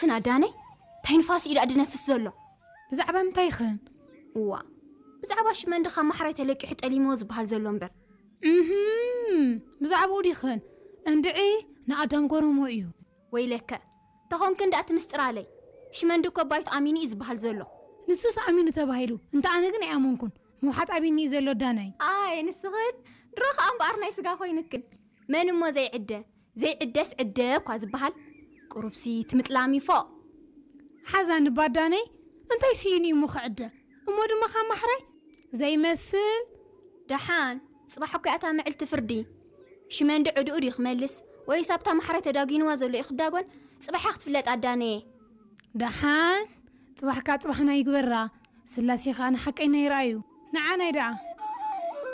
ስና ዳነይ፣ እንታይ ንፋስ እዩ ደኣ ድነፍስ ዘሎ? ብዛዕባ ምንታይ ይኽን? እዋ፣ ብዛዕባ ሽመንዲ ካብ ማሕራይ ተለቂሑ ጠሊምዎ ዝበሃል ዘሎ እምበር። እህም፣ ብዛዕባኡ ዲኽን? እንድዒ፣ ንኣዳም ጎረሞ እዩ። ወይለከ፣ ተኾንክን ደኣ እቲ ምስጢር ኣለይ። ሽመንዲ እኮ ባይቱ ኣሚኑ እዩ ዝበሃል ዘሎ። ንሱስ ኣሚኑ ተባሂሉ፣ እንተ ኣነ ግን ኣይኣመንኩን። ምውሓጥ ኣቢኒ እዩ ዘሎ ዳነይ። ኣይ ንስኽን፣ ድሮ ኸኣ እምበኣር ናይ ስጋ ኮይንክን። መን እሞ ዘይዕደ? ዘይዕደስ ዕደ እኳ ዝበሃል። ቁሩብሲ ትምጥላሚ ፎእ። ሓዛኒ ባዳነይ፣ እንታይ ስኢኑ እዩ እሞ ክዕደ? እሞ ድማ ካብ ማሕራይ ዘይመስል። ደሓን፣ ጽባሕ እኮ እያ እታ ምዕልቲ ፍርዲ። ሽመንዲ ዕድኡ ድዩ ክመልስ፣ ወይስ ኣብታ ማሕራይ ተዳጒንዋ ዘሎ እዩ ክዳጎን? ጽባሕ እያ ክትፍለጥ ኣዳነየ። ደሓን፣ ጽባሕካ ጽባሕና ይግበራ። ስላሴ ኸኣ ንሓቀይና ይረኣዩ። ንዓናይ ደኣ